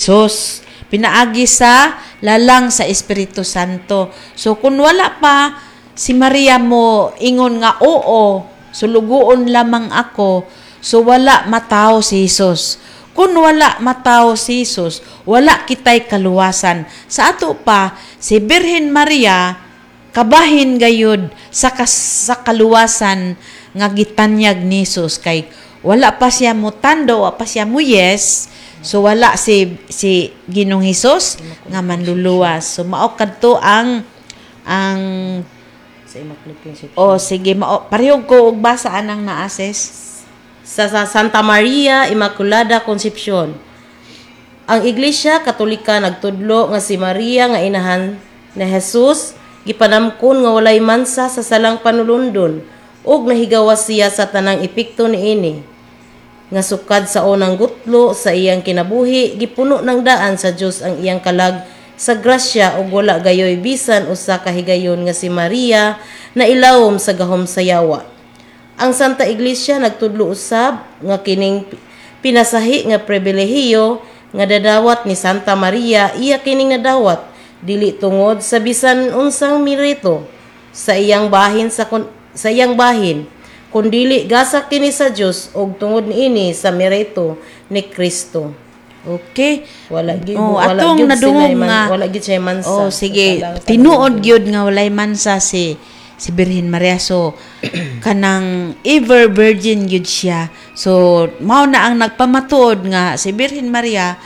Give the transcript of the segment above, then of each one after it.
Jesus pinaagi sa lalang sa Espiritu Santo. So kung wala pa si Maria mo ingon nga, "Oo, sulugoon lamang ako," so wala matawo si Jesus. Kung wala matawo si Jesus, wala kitay kaluwasan. Sa ato pa, si Birhen Maria kabahin gayud sa kaluwasan nga gitanyag ni Jesus kay wala pa siya mutando, wa pa siya mo yes. So wala si si Ginoong Hesus nga manluluwas. So mao kadto ang Sa Immaculate Conception. O sige, mao pareho ko og basa anang naa, sis. Sa Santa Maria Immaculada Concepcion. Ang Iglesia Katolika nagtudlo nga si Maria nga inahan ni Jesus gipanamkon nga walay mansa sa salang panulundon ug nahigawas siya sa tanang epekto niini. Nga sukad sa unang gutlo sa iyang kinabuhi, gipuno ng daan sa Dios ang iyang kalag sa grasya ug wala gayoy bisan usa ka higayon nga si Maria na ilawom sa gahom sa yawa. Ang Santa Iglesia nagtudlo usab nga kining pinasahi nga pribilehiyo nga dadawat ni Santa Maria, iya kining nadawat dili tungod sa bisan unsang merito sa iyang bahin, kundili gasa kini sa Dios ug tungod niini sa merito ni Kristo. Okay. Wala gyud Oh, wala atong gyud nadungog sila man, wala gyud siya mansa. Oh, sige. Sa salang Tinuod gyud nga walay mansa si si Birhen Maria. So kanang ever virgin gyud siya. So mao na ang nagpamatuod nga si Birhen Maria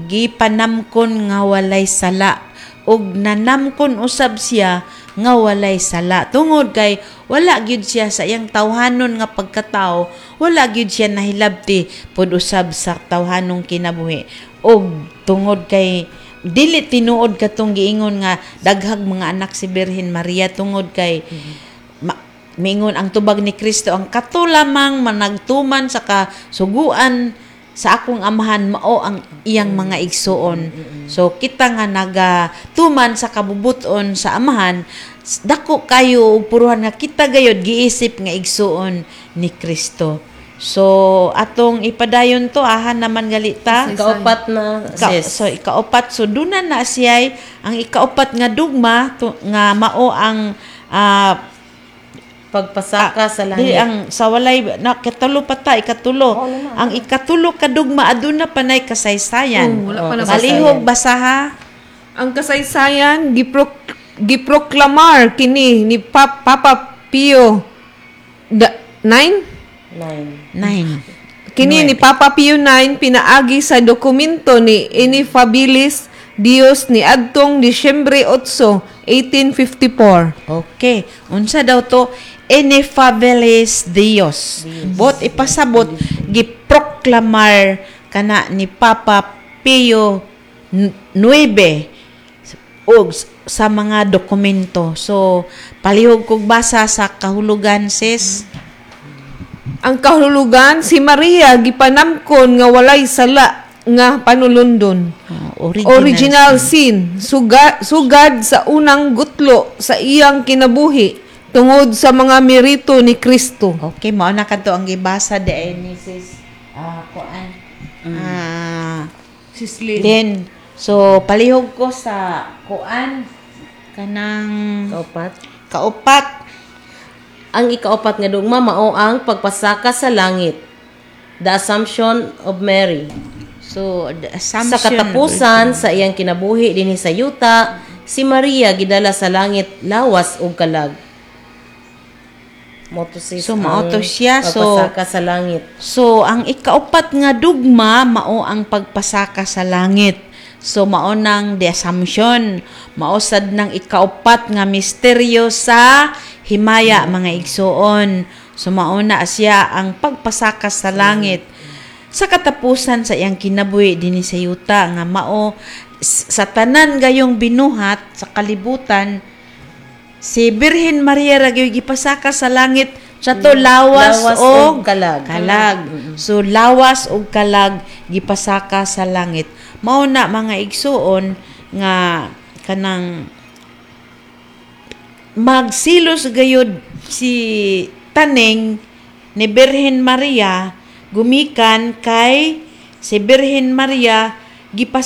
gipanamkon nga walay sala ug nanamkon usab siya nga walay sala tungod kay wala gyud siya sa iyang tawhanon nga pagkatao, wala gyud siya nahilabti pod usab sa tawhanong kinabuhi. Ug tungod kay dili tinuod katong giingon nga daghag mga anak si Birhen Maria, tungod kay miingon ang tubag ni Kristo, ang kato lamang managtuman sa kasuguan sa akong Amahan mao ang iyang mga igsuon. So kita nga nagatuman sa kabubuton sa Amahan, dako kayo og puruhan nga kita gayod giisip nga igsuon ni Kristo. So atong ipadayon to, ahan naman galita. Ikaupat na, sis. So ikaupat, so duna na siya ang ikaupat nga dugma to, nga mao ang Pagpasaka sa Di langit. ang sa walay na katulo pa ta, ikatulo. Ang ikatulo ka dugma, aduna panay kasaysayan. Oh, wala pa Oh, na. Palihog basaha. Ang kasaysayan, giproklamar kini ni Papa Pio nine? Nine. Nine. Kini ni Papa Pio IX pinaagi sa dokumento ni Ineffabilis Deus ni adtong Disyembre 8, 1854. Okay. Unsa daw to? Ineffabilis Deus. Bot ipasabot, giproklamar kana ni Papa Pio IX og sa mga dokumento. So palihog kog basa sa kahulugan, sis. Ang kahulugan, si Maria gipanamkon nga walay sala nga panulundon. Oh, original, Original sin, sugad sa unang gutlo sa iyang kinabuhi tungod sa mga merito ni Kristo. Okay, mao na kadto ang gibasa di ay ni sis kuan. Sis Lynn. Then so palihog ko sa kuan kanang Kaupat. Kaupat. Ang ikaupat nga dugma mao ang pagpasaka sa langit. The Assumption of Mary. So the assumption. Sa katapusan sa iyang kinabuhi dinhi sa yuta, si Maria gidala sa langit lawas ug kalag. Mao to, sis, So, mao to ang siya. Pagpasaka sa langit. So ang ikaupat nga dugma mao ang pagpasaka sa langit. So mao nang the Assumption, mao sad nang ikaupat nga misteryo sa himaya, mga igsuon. So mao na siya ang pagpasaka sa langit sa katapusan sa iyang kinabuhi dinhi sa yuta, nga mao sa tanan gayong binuhat sa kalibutan, si Birhen Maria ra gyud gipasaka sa langit sa to lawas, Lawas og og kalag. Kalag. So lawas og kalag gipasaka sa langit. Mao na, mga igsuon, nga kanang magsilos gayud si taning ni Birhen Maria gumikan kay si Birhen Maria gipasaka